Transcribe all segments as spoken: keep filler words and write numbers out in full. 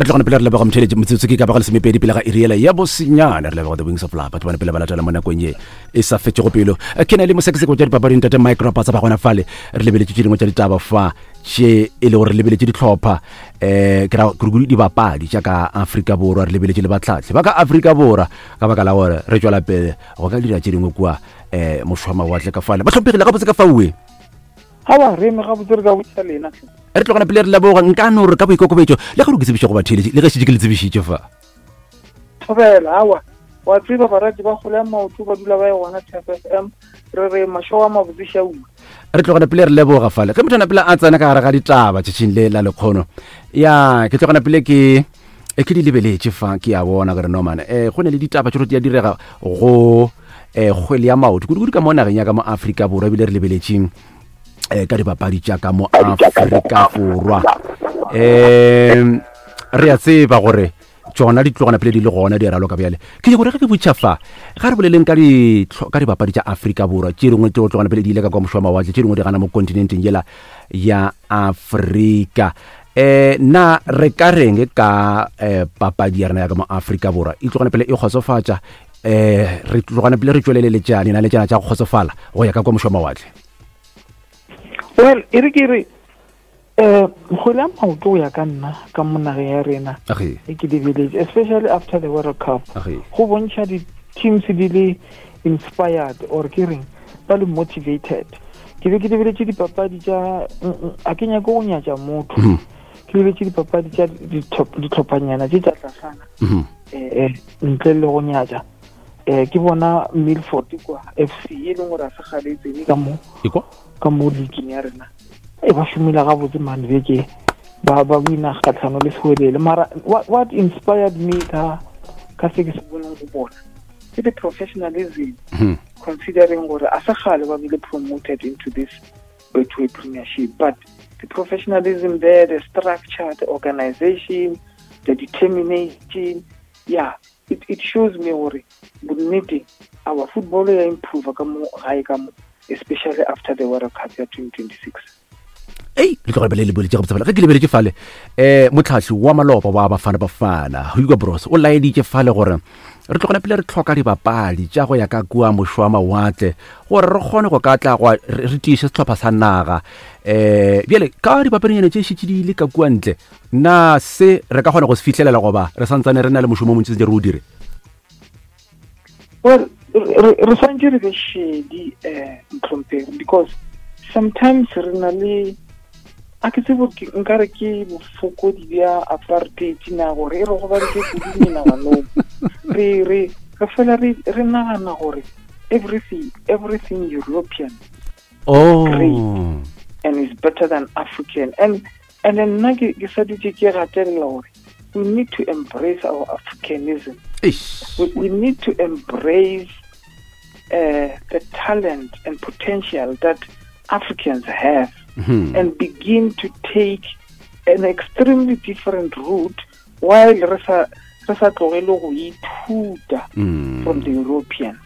Re tlogana pele re leboga motheletši metsotso ke ka bago lesomepedi pele ga iriela ya bosenyane. Re leboga The Wings of Love, batho bana pele ba latela mo nakong ye e sa fetšego pelo. Ke na le mosekaseko tša dipapading tate Mike Rapatsa ba gona fale. Re lebeletše tše dingwe tša ditaba fa tše e le gore re lebeletše dihlopha, um ke ra kudu dibapadi tša ka Afrika Borwa, re lebeletše le batlhatlhi ba ka Afrika Borwa ka baka la gore re tšwela pele go ka dira tše dingwe kua um mošwa mawatle ka fale. Ba hlomphegile gabotse ka faue. Awa, re eme gabotse, re ka botša lena. Re tlogana pele re leboga nka no re ka boikokobetšo le ge re ke tsebišo go batheeletši le ge šetše ke le tsebišitše fa. Thobela. Awa, wa tseba barati ba kgole ya maoto ba dula ba ye gona T F M, re re mašego a mabotse šaua. Re tlogana pele re leboga fale ge motho a pele a tsena ka gare ga ditaba tšatšing le la lekgono. Ya ke tlogana pele ke e ke di lebeletše fa, ke a bona gore no man um go ne le ditaba tše di a direga go um kgwele ya maoto kudu-kudu ka mo nageng ya ka mo Afrika Borwa, ebile re lebeletšeng um ka dibapadi tša ka mo Afrika Borwa. Um re a tseba gore tšona di tlogana pele di le gona di raloka bjale. Ke nyako gore ge ke botša fa ga re boleleng ka di ka dibapadi tša Afrika Borwa tše dingwe tšeo tlogana pele di ile ka kwa mošwa mawatle, tše dingwe di gana mo kontinenteng yela ya Afrika. Um na re ka reng ka um papadi ya rena ya ka mo Afrika Borwa e tlogana pele e kgotsofatša? Um re tlogana pele re tšweleleletšane na le tšana tša go kgotsofala go ya ka kwa mošwa mawatle? Well, e re ke re um kgwele ya maoto go ya ka nna ka mo nageng ya rena e ke lebeletše, especially after the World Cup, go bontšha di-teams di le inspired or ke reng ba le motivated. Ke be ke lebeletše dipapadi tša, a ke nyake go nyatša motho, ke lebeletše dipapadi tša ditlhophanyana tše tša tlasana um ntle le go nyatša. Um ke bona Milford kwa F C e leng gore a se kgale e tsene ka mo ka mo leagueng ya rena, e ba šomile gabotse mane beke ba ba wina kgatlhano le Sewelele. Mara what, what inspired me ka ka se ke se boneng go bona ke the professionalism, considering gore a se kgale ba bile promoted into this Betway Premiership, but the professionalism there, the structure, the organization, the determination, yeah, it, it shows me gore bonnete our football ya improve ka mo gae ka mo, especially after the World Cup ya twenty twenty-six. Ei, le tloga le lebeletše gabotse fale. Ge ke lebeletše fale um motlhahli wa maloba wa Bafana Bafana Hugo Broos o laeditše fale gore re tlogana pele re tlhoka dibapadi tša go ya ka kua mošwa mawatle gore re kgone go ka tla go re tiiše sehlopha sa naga. Um bjale ka dipapadinyana tše šetše di ile ka kua ntle, na se re ka kgona go se fihlelela goba re santsane re na le mošomo o montši sentse re o dire? Well, re swantše re be šedi um mohlomphegi, because sometimes re na le a ke tsebo nkare ke bofokodi bja apartheid na gore e re gobaditše kudu menaganong. Re re re fela re re nagana gore everything everything European oh great and is better than African, and and then nna ke ke sa dutše ke gatelela gore we need to embrace our Africanism. We, we need to embrace uh, the talent and potential that Africans have, mm-hmm. and begin to take an extremely different route while re sa re sa tlogele go ithuta from the Europeans.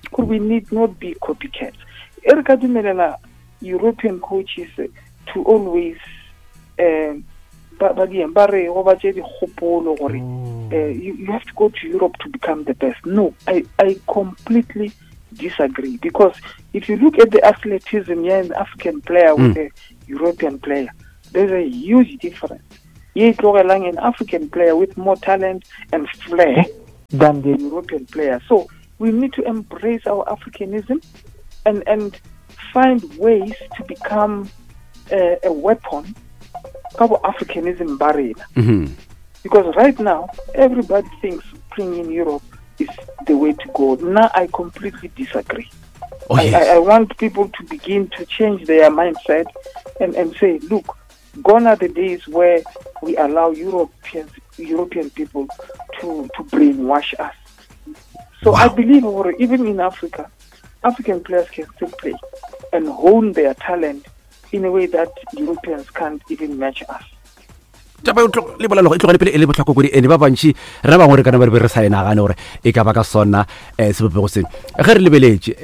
Because we need not be copycats. E re ka dumelela European coaches to always um ba ba di ba re go ba tše dikgopolo gore you, you have to go to Europe to become the best. No, I, I completely disagree, because if you look at the athleticism, yeah, an African player with mm. a European player, there's a huge difference. Ye tlogelang an African player with more talent and flair than the European player. So we need to embrace our Africanism and, and find ways to become uh, a weapon ka bo Africanism ba rena. Mm-hmm. Because right now, everybody thinks playing in Europe is the way to go. Now I completely disagree. Oh, yes. I, I, I want people to begin to change their mindset and, and say, look, gone are the days where we allow Europeans, European people to, to brainwash us. So wow. I believe even in Africa, African players can still play and hone their talent in a way that Europeans can't even match us. Taba le bolela e tlogele pele e le bohlokwa kudu, ene ba bantši rena bangwe re kana ba re be re sa e nagane gore e ka ba ka sona um sebopego se. Ge re lebeletše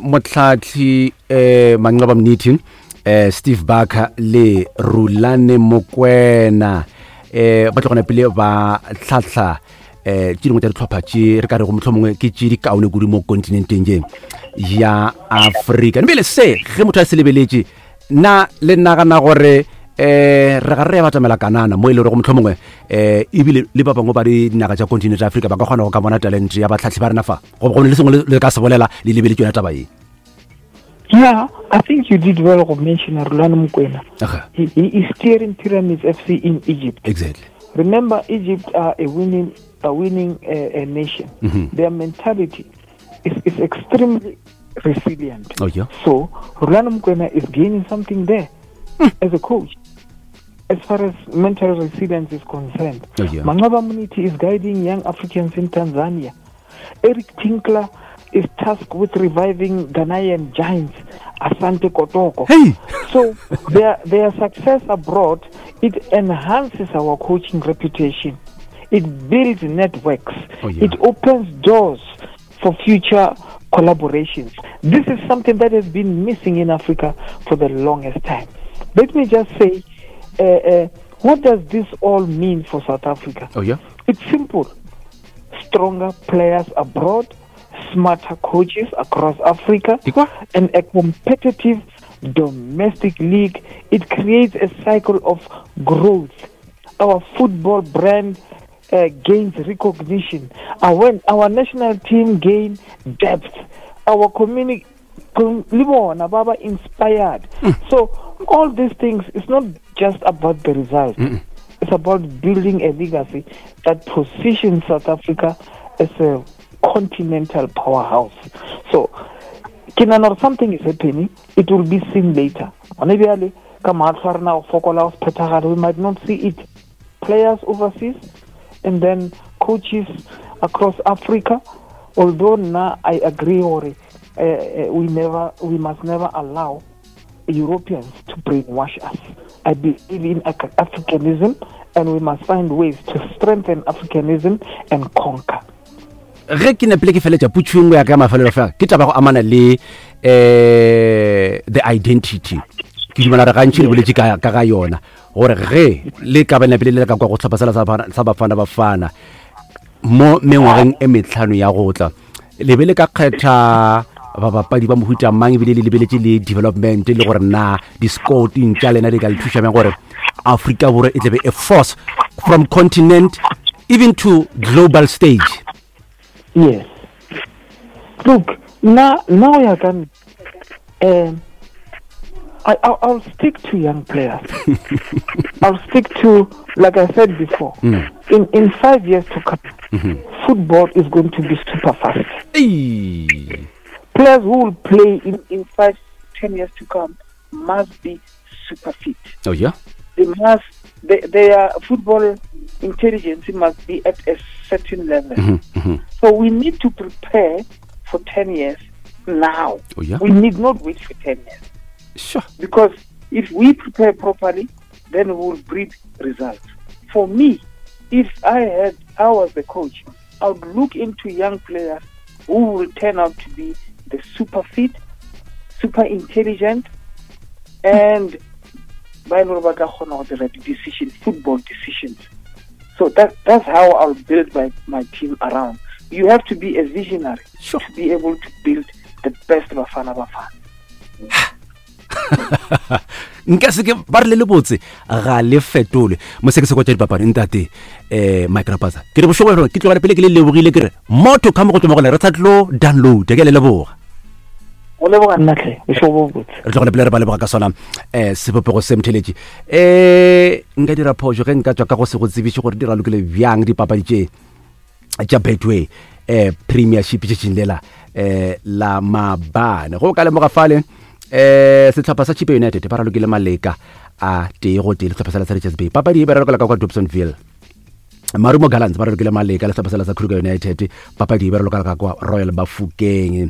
um motlhatlhi um Manqoba Mniti, um Steve Barker le Rulane Mokwena, um ba tlogana pele ba tlhatlha um tše dingwe tša ditlhopha tše re ka rego mohlomongwe ke tše di kaone kudu mo kontinenteng ye ya Afrika. Ebile se ge motho a se lebeletše, na le nagana gore um re ga re ya batamela kanana mo e le gorego mohlomongwe um ebile le ba bangwe ba dinaga tša kontinente ya Afrika ba ka kgona go ka bona talente ya batlhatlhi ba rena fa, goba go ne le sengwe le ka se bolela le lebeletše yona taba ye? Yeah, I think you did well to mention Rulani Mokwena. Okay. He, he is steering Pyramids F C in Egypt. Exactly. Remember, Egypt are a winning, a winning uh, a nation. Mm-hmm. Their mentality is, is extremely resilient. Oh, yeah. So Rulani Mokwena is gaining something there mm. as a coach, as far as mental resilience is concerned. Oh, yeah. Manqoba Mngqithi is guiding young Africans in Tanzania. Eric Tinkler is tasked with reviving Ghanaian giants Asante Kotoko. Hey. So their, their success abroad, it enhances our coaching reputation. It builds networks. Oh, yeah. It opens doors for future collaborations. This is something that has been missing in Africa for the longest time. Let me just say, uh, uh, what does this all mean for South Africa? Oh, yeah. It's simple. Stronger players abroad, smarter coaches across Africa, and a competitive domestic league. It creates a cycle of growth. Our football brand uh, gains recognition. Our, our national team gains depth. Our community com- inspired. Mm. So all these things, it's not just about the result. Mm-mm. It's about building a legacy that positions South Africa as a continental powerhouse. So, kinanor something is happening, it will be seen later. We might not see it. Players overseas and then coaches across Africa. Although now I agree, or uh, we never, we must never allow Europeans to brainwash us. I believe in Africanism, and we must find ways to strengthen Africanism and conquer. Ge ke nepile ke feletša putšo engwe ya ka mafelelo fela ke taba go amana le eh the identity. Ke dumela re gantši le boletše ka ka ga yona gore ge le ka ba nepile le ka kwa go tlhopha sela sa Bafana Bafana mo mengwageng e metlhano ya go tla le be le ka kgetha babapadi ba mohuta mang ebile le lebeletše le development le gore na di-scouting tša lena di ka le thuša bjang gore Afrika Borwa e tlebe a force from continent even to global stage. Yes. Look, now, now I can. Um, I, I'll, I'll stick to young players. I'll stick to, like I said before, mm. in, in five years to come, mm-hmm. football is going to be super fast. Hey. Players who will play in, in five, ten years to come must be super fit. Oh, yeah? They must, they, their football intelligence must be at a certain level. Mm-hmm, mm-hmm. So we need to prepare for ten years now. Oh, yeah? We need not wait for ten years. Sure. Because if we prepare properly, then we will breed results. For me, if I had, I was the coach, I would look into young players who will turn out to be the super fit, super intelligent, and by the decision, football decisions. So that that's how I'll build my, my team around. You have to be a visionary sure. to be able to build the best Bafana Bafana. Nka se ke ba re le lebotse ga le fetole mo se ke se kwa tša dipapadi ntate eh Mike Rapatsa ke re bošego gore ke tlogele pele ke le lebogile ke re motho ka mo go tsoma gone re sa tlo download ke le leboga o leboga nna tle bošego bo botse re tlogele pele re ba leboga ka sona eh sebopego se mtheletše eh nka dira phošo ge nka tswa ka go se go tsebiše gore di ralokile bjang dipapadi tše tša Betway eh Premiership tšatšing lela eh la mabane go ka lemoga fale eh setlhopha sa Chippa United ba ralokile maleka a tee go tee le setlhopha sa Richards Bay papadi e ba ralokela ka kwa Dobsonville Marumo Gallants ba ralokile maleka le setlhopha sa Kruger United papadi e ba ralokela ka kwa Royal Bafokeng.